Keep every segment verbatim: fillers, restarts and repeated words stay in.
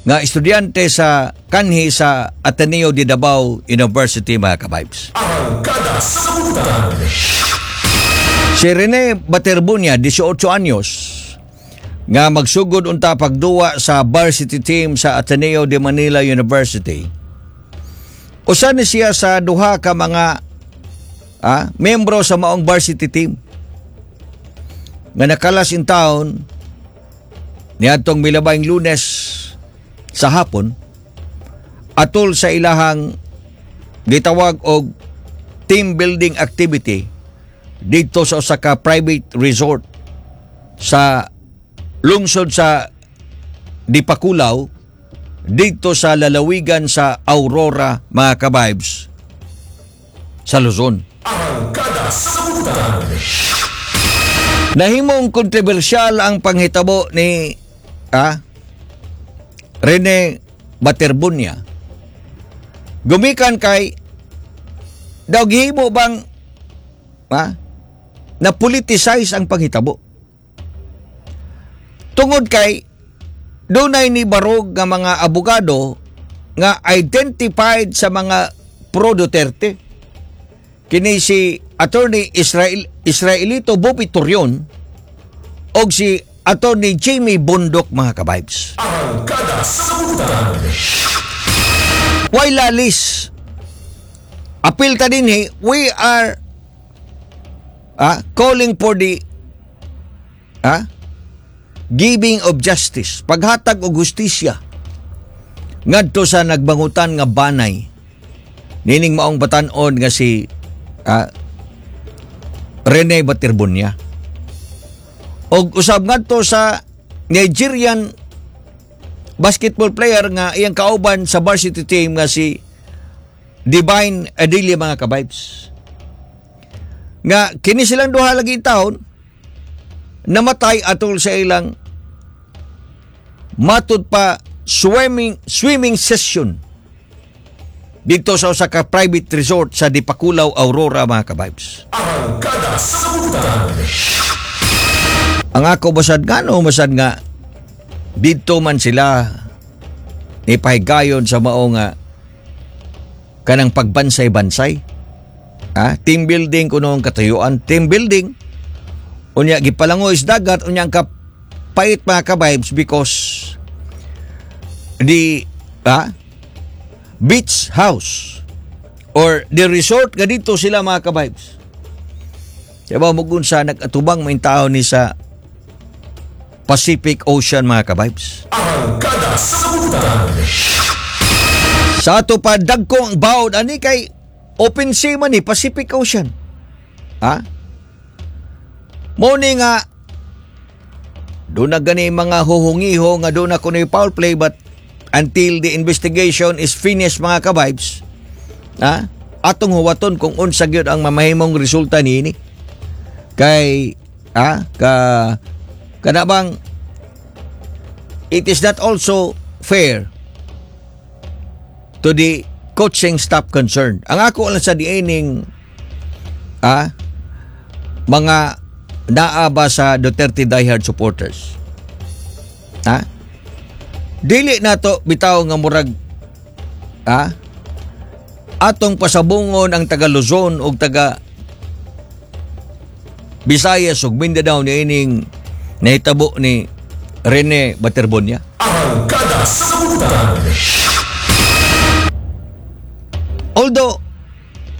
Nga estudyante sa kanhi sa Ateneo de Davao University, mga kabibes. Arangkada sa Butan. Si Rene Baterbonia, eighteen anyos, nga magsugod unta pagduwa sa varsity team sa Ateneo de Manila University. Usa ni siya sa duha ka mga ah, membro sa maong varsity team nga nakalas in town niadtong milabayng Lunes sa hapon atol sa ilahang gitawag og team building activity dito sa usa ka private resort sa lungsod sa Dipaculao dito sa lalawigan sa Aurora, mga kabibes, sa Luzon. Arangkada sa Butan. Nahimong kontrobersyal ang panghitabo ni ah, Rene Baterbonia. Gumikan kay daw gihimo bang ah, na politicize ang panghitabo. Tungod kay dunay ni barog nga mga abogado nga identified sa mga pro Duterte. Kini si Attorney Israel Israelito Bobby Torreon og si Attorney Jimmy Bondoc, mga kabibes. Arangkada sa Butan. Why lalis? Apil ta dinhi, we are ah, calling for the ah, giving of justice, paghatag og hustisya ngadto sa nagbangutan nga banay nining maong batan-on nga si ah, Rene Baterbonia. Og usab ngadto sa Nigerian basketball player nga iyang kauban sa varsity team nga si Divine Adelia, mga kabibes. Nga kini silang duha lagi taon namatay atol sa ilang matud pa swimming swimming session dito sa usa ka private resort sa Dipaculao, Aurora, mga kabibes. Arangkada sa Butan. Ang ako basad nga no basad nga dito man sila ni pahigayon sa mao nga kanang pagbansay-bansay. Ah, team building kuno ang katuyuan, team building. Unya gipalangoy sa dagat, unya ang kapait, mga kabibes, because the ah, beach house or the resort nga dito sila, mga kabibes. Diba mugun sa nag-atubang may tao ni sa Pacific Ocean, mga kabibes. Arangkada sa Butan. Sa ato pa dagko ang bawod ani kay open sea man ni Pacific Ocean. Ha? Mo ni nga doon na gani mga huhungiho nga doon na kuno'y foul play, but until the investigation is finished, mga kabibes, ha? Atong huwaton kung unsa gyud ang mamahimong resulta niini. Kay ha ka kana bang it is not also fair to the coaching staff concerned. Ang ako lang sa diining ah, mga naa ba sa Duterte diehard supporters. Ha? Dili na to bitaw nga murag ah, atong pasabungon ang taga Luzon o taga Visayas ug Mindanao niining nahitabo ni Rene Baterbonia. Arangkada sa Butan. Although,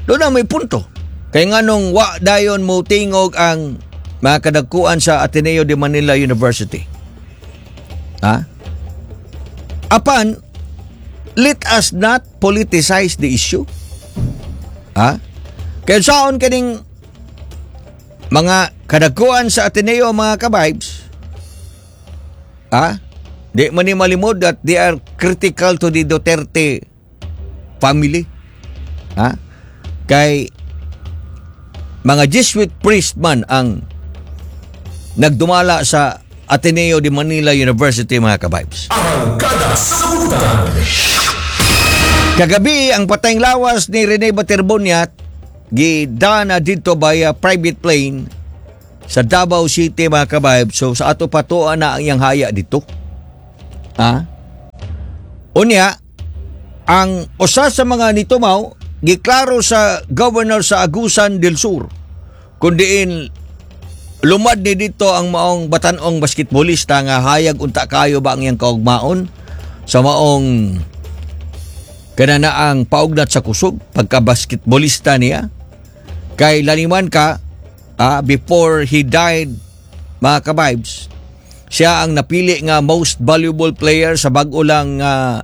doon na may punto. Kaya nga nung wa dayon mo tingog ang mga kadagkuan sa Ateneo de Manila University. Ha? Apan, let us not politicize the issue. Ha? Kaya saon kaning mga kadagkuan sa Ateneo, mga kabibes, ha? Di man ni malimod that they are critical to the Duterte family. Ha? Kay mga Jesuit priest man ang nagdumala sa Ateneo de Manila University, mga kabibes. Arangkada sa Butan. Kagabi, ang patayng lawas ni Rene Baterbonia gidana dito by a private plane sa Davao City, mga kabibes. So sa ato patuan na ang iyang haya dito. Ha? Unya, ang usa sa mga nitumaw giklaro sa governor sa Agusan del Sur kung diin lumad ni dito ang maong batanong basketballista nga hayag unta kayo ba ang iyang kaugmaon sa maong kananaang paugnat sa kusog pagka basketballista niya kay laniman ka ah, before he died mga kabibes siya ang napili nga most valuable player sa bag-o lang uh,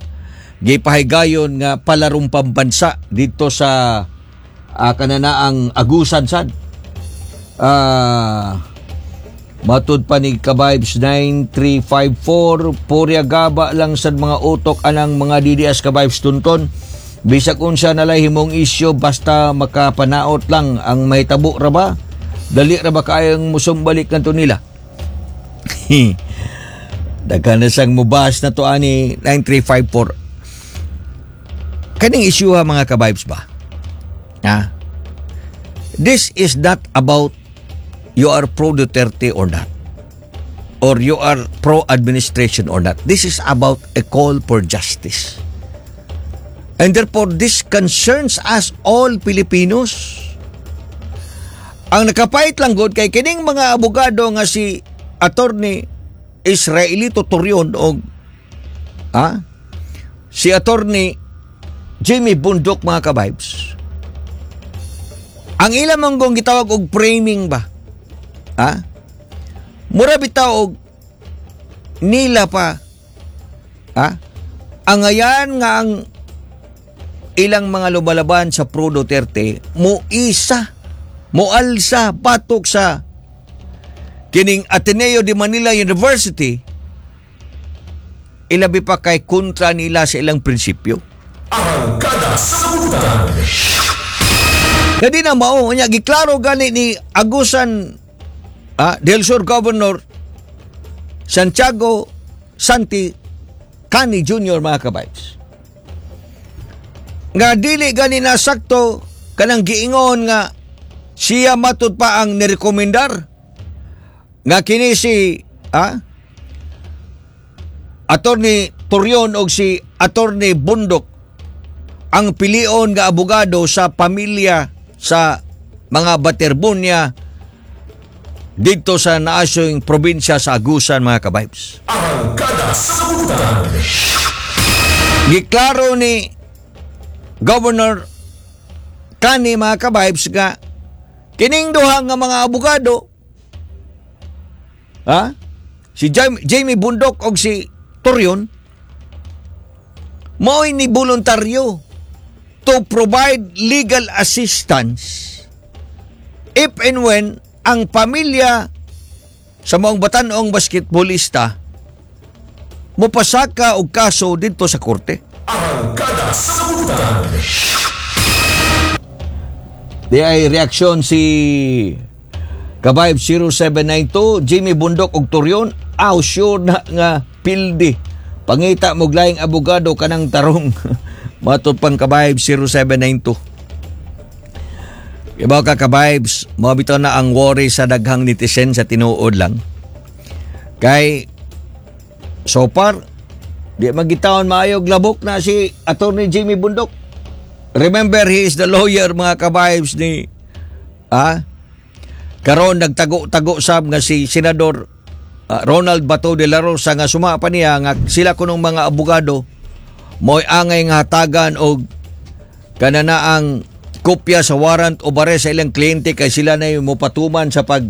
gipahigayon nga palarong pambansa dito sa uh, kananaang Agusan sad ah Matud pa ni Kabibes nine three five four, purya gaba lang sad mga utok anang mga D D S Kabibes Tunton. Bisag unsa nalay himong isyo basta makapanaot lang ang mahitabo ra ba? Dali ra ba kayong musumbalik kanto nila? Daghan na siyang mubas na to ani nine three five four. Kaning issue ha mga kabibes ba? Ha? This is not about you are pro Duterte or not. Or you are pro administration or not. This is about a call for justice. And therefore, this concerns us all Filipinos. Ang nakapait lang gud kay kining mga abogado nga si Attorney Israelito Torion og ah, si Attorney Jimmy Bundok mga kabibes. Ang ilang manggong gitawag og framing ba? Ha? Mura bitaw og nila pa. Ha? Angayan nga ang ilang mga lumalaban sa pro Duterte mo isa mo alsa batok sa kining Ateneo de Manila University ilabi pa kay kontra nila sa ilang prinsipyo. Arangkada sa Butan. Kadi na mao nya giklaro gani ni Agusan ah, del Sur Governor Santiago Santi Cani Junior mga kabays. Nga dili gani na sakto kanang giingon nga siya matud pa ang nirekomendar nga kini si ah, Attorney Torion og si Attorney Bundok ang pilion nga abogado sa pamilya sa mga Baterbonia dito sa naasyong probinsya sa Agusan mga kabibes. Arangkada sa Butan. Giklaro ni Governor Cani mga kabibes nga kining duha nga mga abogado ha si Jamie, Jamie Bundok og si Torion mao'y ni voluntaryo to provide legal assistance if and when ang pamilya sa maong batanong basketballista mopasaka og kaso dito sa korte. Arangkada sa Butan. Di ay reaksyon si Kabayb zero seven nine two, Jimmy Bundok og Torion, aw sure na nga pildi. Pangita mo laing abogado kanang tarong. Matod pang Kabayb zero seven nine two. Ibaw ka kabibes, mao bitaw na ang worry sa daghang netizen sa tinuod lang. Kay so far di magitawon maayog labok na si Attorney Jimmy Bundok. Remember, he is the lawyer mga kabibes ni ah karon nagtago-tago sab nga si Senador ah, Ronald Bato de la Rosa nga suma pa niya nga sila kunong mga abogado mo'y angay nga hatagan og kananaang kopya sa warrant of arrest sa ilang kliyente kay sila na yung mopatuman sa pag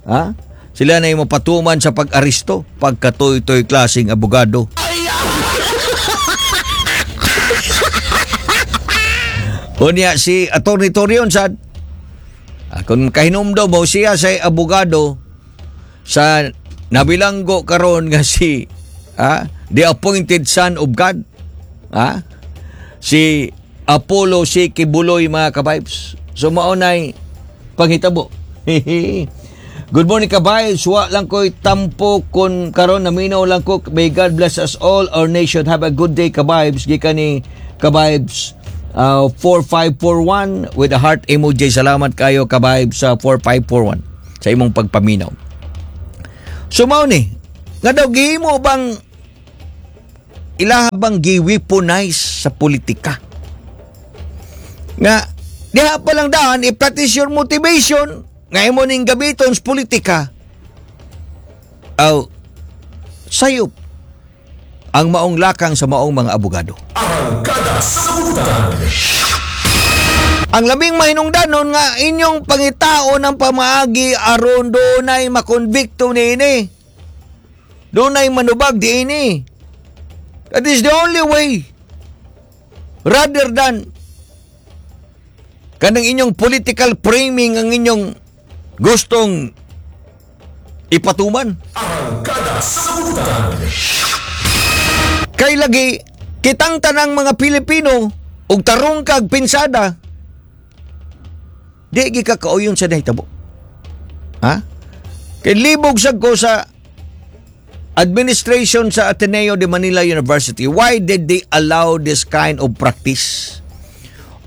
ha? Sila na yung mopatuman sa pag-aresto pagkatoy-toy klaseng abogado. Unya si Attorney Torion sad ah, kung kahinumdom mo siya sa abogado sa nabilanggo karon nga si ah, the appointed son of God ah, si Apollo C. Quiboloy mga kabibes. So maunay panghitabo. Good morning kabibes. Wa lang ko'y tampo kun karon naminaw lang ko. May God bless us all, our nation. Have a good day kabibes. Gikan ni kabibes uh, four five four one with a heart emoji. Salamat kayo kabibes sa four five four one sa imong pagpaminaw. So mao ni nga daw gihimo bang Ilaha bang gi-weaponize sa politika? Nga diha pa lang daan, if that is your motivation nga imo ning gamiton sa politika, aw sayop ang maong lakang sa maong mga abogado. Arangkada sa Butang. Ang labing mahinungdanon nga inyong pangitaon ang pamaagi aron dunay makonbikto niini. Dunay manubag diini. That is the only way. Rather than kanang inyong political framing ang inyong gustong ipatuman. Arangkada sa Butang. Kay lagi kitang tanang mga Pilipino og tarong kag pinsada, di gi ka kauyon sa nahitabo. Ha? Kay libog sad ko sa administration sa Ateneo de Manila University. Why did they allow this kind of practice?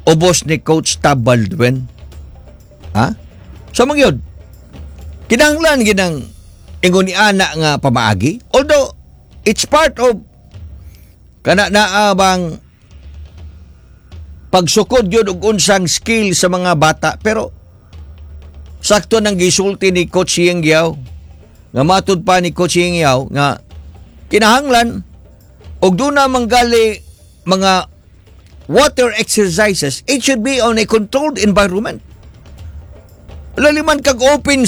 Ubos ni Coach Tab Baldwin. Ha? So man yun, kinahanglan ginang ingon ni ana nga pamaagi. Although, it's part of kana naa bang pagsukod yun og unsang skill sa mga bata, pero sakto nang gisulti ni Coach Yeng Guiao nga matud pa ni Coach Yeng Guiao nga kinahanglan og doon na manggali mga water exercises, it should be on a controlled environment. Laliman kag open.